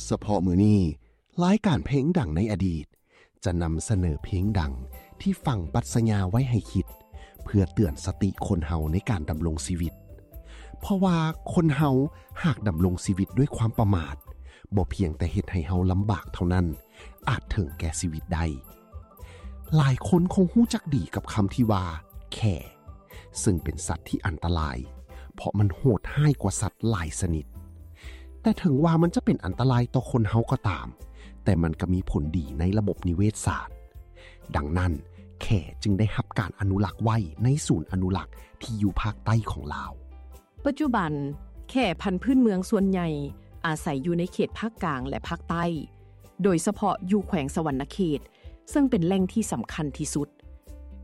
ສະເພາະມື້ນີ້, ລາຍການເພງດັງໃນອະດີດ ຈະນຳສະເໜີເພງດັງທີ່ຝັງປັດຊະຍາໄວ້ໃຫ້ຄິດ ເພື່ອເຕືອນສະຕິຄົນເຮົາໃນການດຳລົງຊີວິດ. ເພາະວ່າຄົນເຮົາຫາກດຳລົງຊີວິດດ້ວຍຄວາມປະໝາດ, ບໍ່ພຽງແຕ່ເຮັດໃຫ້ເຮົາລຳບາກເທົ່ານັ້ນ, ອາດເຖິງແກ່ຊີວິດໄດ້. ຫຼາຍຄົນຄົງຮູ້ຈັກດີກັບຄຳທີ່ວ່າ ແຂ້ ເຊິ່ງເປັນສັດທີ່ອັນຕະລາຍ, ເພາະມັນໂຫດຮ້າຍກວ່າສັດຫຼາຍຊະນິດ. ແຕ່ເຖິງວ່າມັນຈະເປັນອັນຕະລາຍຕໍ່ຄົນເຮົາກໍຕາມ, ແຕ່ມັນກໍມີຜົນດີໃນລະບົບນິເວດສາດ. ດັ່ງນັ້ນ, ແຂ້ຈຶ່ງໄດ້ຮັບການອະນຸລັກໄວ້ໃນສູນອະນຸລັກທີ່ຢູ່ພາກໃຕ້ຂອງລາວ. ປັດຈຸບັນ, ແຂ້ພັນພື້ນເມືອງສ່ວນໃຫຍ່ອາໄສຢູ່ໃນເຂດພາກກາງ ແລະ ພາກໃຕ້, ໂດຍສະເພາະຢູ່ແຂວງສະຫວັນນະເຂດ, ເຊິ່ງເປັນແຫຼ່ງທີ່ສຳຄັນທີ່ສຸດ.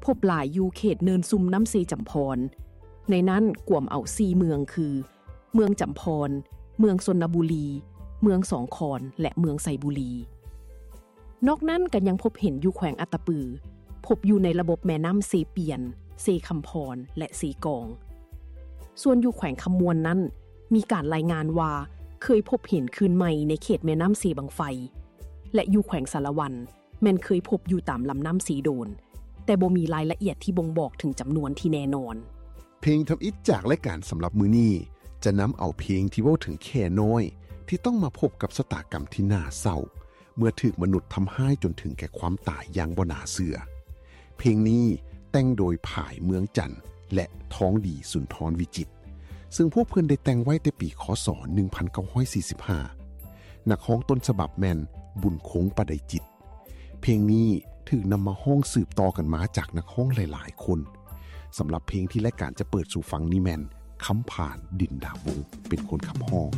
ພົບຫຼາຍຢູ່ເຂດເນີນຊຸ່ມນ້ຳເຊຈຳພອນ, ໃນນັ້ນກວມເອົາສີ່ເມືອງຄື ເມືອງຈຳພອນ, ເມືອງຊົນນະບູລີ, ເມືອງສອງຄອນ ແລະ ເມືອງໄຊບູລີ. ນອກນັ້ນກໍຍັງພົບເຫັນຢູ່ແຂວງອັດຕະປື, ພົບຢູ່ໃນລະບົບແມ່ນ້ຳເຊປຽນ, ເຊຄຳພອນ ແລະ ເຊກອງ. ສ່ວນຢູ່ແຂວງຄຳມ່ວນນັ້ນ, ມີການລາຍງານວ່າເຄີຍພົບເຫັນຄືນໃໝ່ໃນເຂດແມ່ນ້ຳເຊບັ້ງໄຟ ແລະ ຢູ່ແຂວງສາລະວັນ ແມ່ນເຄີຍພົບຢູ່ຕາມລຳນ້ຳເຊໂດນ, ແຕ່ບໍ່ມີລາຍລະອຽດທີ່ບົ່ງບອກເຖິງຈຳນວນທີ່ແນ່ນອນ. ເພງທຳອິດຈາກລາຍການສຳລັບມື້ນີ້ ຈະນຳເອົາເພງທີ່ເວົ້າເຖິງແຂ້ນ້ອຍ ທີ່ຕ້ອງມາພົບກັບຊະຕາກຳທີ່ໜ້າເສົ້າ ເມື່ອຖືກມະນຸດທຳຮ້າຍຈົນເຖິງແກ່ຄວາມຕາຍຢ່າງບໍ່ໜ້າເຊື່ອ. ເພງນີ້ແຕ່ງໂດຍ ຜາຍ ເມືອງຈັນ ແລະ ທອງດີ ສຸນທອນວິຈິດ, ເຊິ່ງພວກເພິ່ນໄດ້ແຕ່ງໄວ້ແຕ່ປີ ຄ.ສ. ໜຶ່ງພັນເກົ້າຮ້ອຍສີ່ສິບຫ້າ. ນັກຮ້ອງຕົ້ນສະບັບແມ່ນ ບຸນຄົງ ປະໄດຈິດ. ເພງນີ້ຖືກນຳມາຮ້ອງສືບຕໍ່ກັນມາຈາກນັກຮ້ອງຫຼາຍໆຄົນ. ສຳລັບເພງທີ່ລາຍການຈະເປີດສູ່ຟັງນີ້ແມ່ນ ຄຳຜານ ດິນດາວົງ ເປັນຄົນຂັບຮ້ອງ.